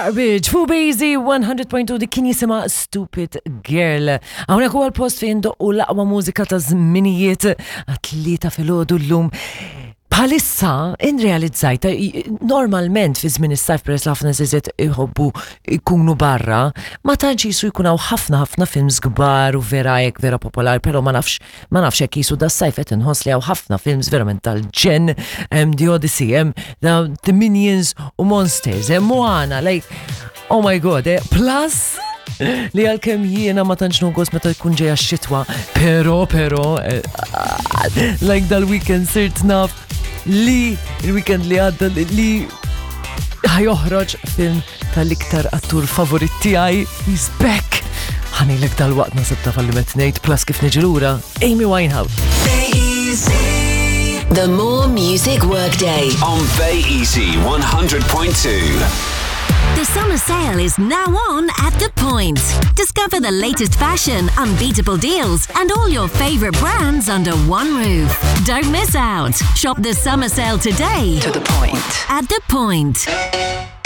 Garbage fuq Bazy 100.2 dik kien jisimha Stupid Girl. Hawnhekk huwa l-post fejn doqqu l-aqwa mużika ta' żminijiet għat-tlieta filgħodu llum. Bħalissa inrealizzajt normalment fi żmien is-sajf peress li ħafna nies iħobbu jkunu barra, ma tantx jisu jkun hawn ħafna ħafna films kbar u vera hekk vera popolari, però ma nafx Ma nafx hekk qisu das-sajf qed inħoss li hawn ħafna films verament tal-ġenn, hemm The Odyssey, hemm The Minions u Monsters, hemm Moana, like oh my god, eh, plus li għalkemm jiena ma tantx nogos meta jkun ġejja x-xitwa, però però eh, like dal-weekend sirt naf li il-weekend li għadda li ħajoħroġ film tal-iktar attur favorit tiegħi, he's back. Ħanilek dal-waqt nasib ta' falliment ngħid plus kif niġi lura Amy Winehouse. The More Music Workday. On Bay Easy 100.2. The summer sale is now on at The Point. Discover the latest fashion, unbeatable deals, and all your favorite brands under one roof. Don't miss out. Shop the summer sale today To the point. at The Point.